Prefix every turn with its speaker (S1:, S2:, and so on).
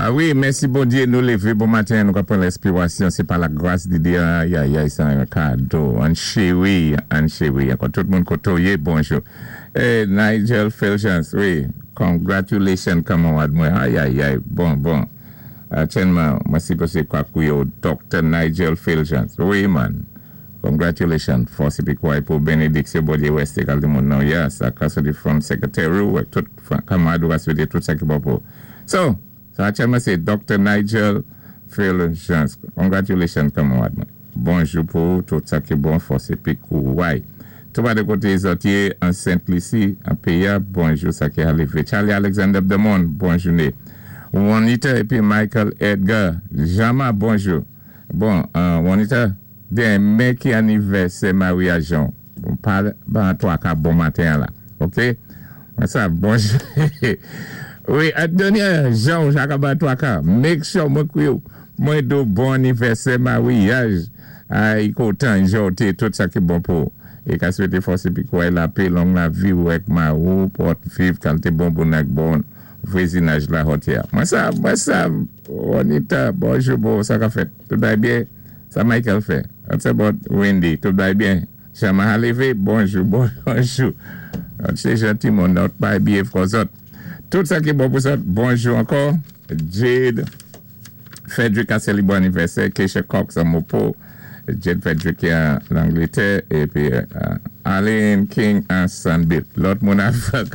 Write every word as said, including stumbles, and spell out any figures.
S1: Ah wi, mèsi Bondyé, nou lévé bon maten, nou ka pran lèspirasyon, sé pa la gras di Dye, ay, ay, sa yon kado, an chéri, an chéri, ankò tout moun koto yé, bonjou. Eh, Nigel Felchans, wi, congratulations, kanmarad mwen, ay, ay, ay, bon, bon. Atyèlman, mwen sipozé kwa kwiyo Doctor Nigel Felchans, wi man, congratulations, fòs épi kouway pou benediksyon Bondyé wèsté kalté moun nan, yes, a ka soti from secretary, ou tout kanmarad ou a swété tout sa ki bon pou. So, so atyèlman sé Doctor Nigel Felchans. Congratulations, kanmarad mwen. Bonjou pou tout sa ki bon, fòs épi kouway. Tou ba de koté zòt yé, an Saint-Lucie, an P A, bonjou sa ki alévé. Charlie Alexander Demond, bonjouné. Juanita épi Michael Edgar, Jama, bonjou. Bon, Juanita, denmen ki anivèsè maryaj an. Bon, pa ban twa ka bon maten la. Ok? Mwen sa, bonjou. Wi, Adonia, Jean, Jacques ban twa ka. Make sure mwen kwiyo, mwen do bon anivèsè maryaj. Ay, kontan, jote, tout sa ki bon pou. É ka swété fòs épi kouway lapè, long lavi ou èk mari ou, pou viv kalté bon bon ak bon vwazinaj la hotya. Mwen sa, mwen sa, Juanita, bonjou, bon, sa ka fèt. Tout bay byen? Sa Michael fè. What's about Wendy? Tout bay byen? Chama Halivé, bonjou, bonjou. Se janti moun, not bay byen fò zòt. Tout sa ki bon pou zòt, bonjou ankò. Jade, Frederick a sélibwé anivèsè, Keisha Cox an Mopo, Jade Frederick an Langlétè, épi Aline King an Sanbit. Lòt moun ap